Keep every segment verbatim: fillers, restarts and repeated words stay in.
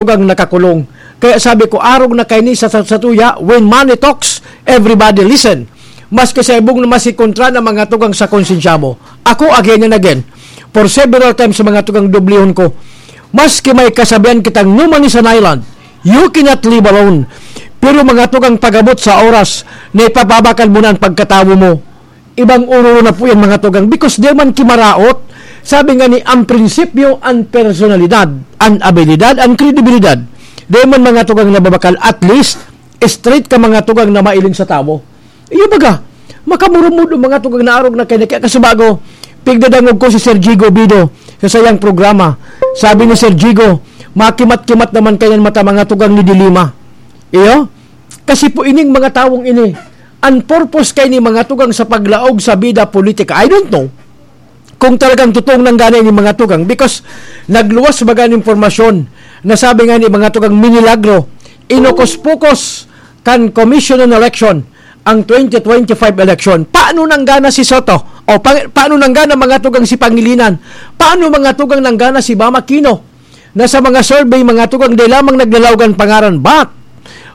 tugang nakakulong. Kaya sabi ko, arog na kaini sa, sa, sa tuya, when money talks, everybody listen. Maski sa ibong na masikontra na mga tugang sa konsensya mo. Ako, again and again, for several times sa mga tugang dublihon ko, maski may kasabihan kitang no man is an island, you cannot live alone. Pero mga tugang pagabot sa oras na ipapabakal mo na ang pagkatawo mo, ibang ororo na po yan, mga tugang, because di man kimaraot. Sabi nga ni, ang prinsipyo, ang personalidad, ang abilidad, ang kredibilidad. Di man, mga tugang, nababakal, at least, straight ka, mga tugang, na mailing sa tawo. Iyo baga, makamurumod ang mga tugang na arog na kaya kasubago, pigdadangog ko si Sir Jigo Bido sa sayang programa. Sabi ni Sir Jigo, makimat-kimat naman kayan mata mga tugang ni Dilima. Iyo? Kasi po ining mga tawong ini, ang purpose kay ni mga tugang sa paglaog sa bida politika, I don't know kung talagang totoong nanggana ni mga tugang, because nagluwas baga ng impormasyon na sabi nga ni mga tugang minilagro, inukos-pukos kan Commission on Election ang twenty twenty-five election. Paano nanggana si Soto? O pa, paano nanggana mga tugang si Pangilinan? Paano mga tugang nanggana si Bam Aquino? Na sa mga survey, mga tugang, di lamang naglalaogan pangaran, but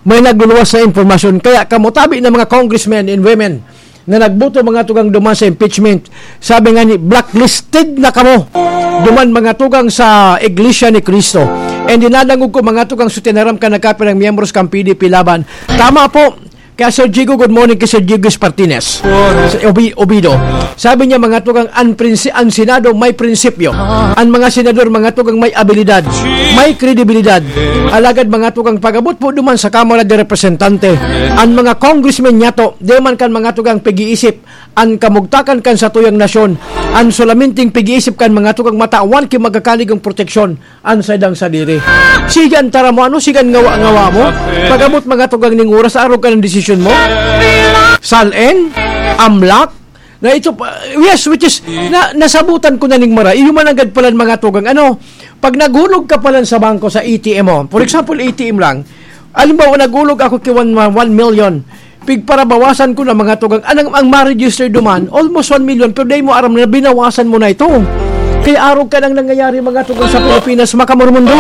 may nagluluwas na impormasyon. Kaya kamo tabi na mga congressmen and women na nagboto, mga tugang, duman sa impeachment, sabi nga ni, blacklisted na kamo duman, mga tugang, sa Iglesia ni Cristo. And dinadangog ko, mga tugang, sa tinaram ka nagkapirang miyembros kan P D P Laban. Tama po, kaya Sir Jigo, good morning kay Sir Jigo Espartines. Sa Obi-, Obido. Sabi niya, mga tugang, ang, prinsi-, ang Senado may prinsipyo. Ang mga senador, mga tugang, may abilidad, may kredibilidad. Alagad, mga tugang, pag-abot po duman sa Kamara de Representante, ang mga congressmen niya to, di man kan mga tugang pag-iisip, ang kamugtakan kan satuyang nasyon, ang solaminting pag-iisip kan mga tugang matawan ki magkakaligong proteksyon, an saindang sadiri. Sige an tara mo, ano, sige an ngawa-ngawa mo. Pag-abot mga tugang ning oras, arog ka ng desisyon mo. Salen, amlak, na ito pa, yes, which is, na, nasabutan ko na ning mara. Iyo man agad palan mga tugang, ano, pag naghulog ka palan sa bangko, sa A T M mo, for example, A T M lang, alimbawa, naghulog ako ki one, one million, pigparabawasan ko na mga tugang. Anang, ang ma-register duman, almost one million, pero dai mo aram na binawasan mo na ito. Kaya arog ka nang nangyayari mga tugang sa Pilipinas, makamurmundo.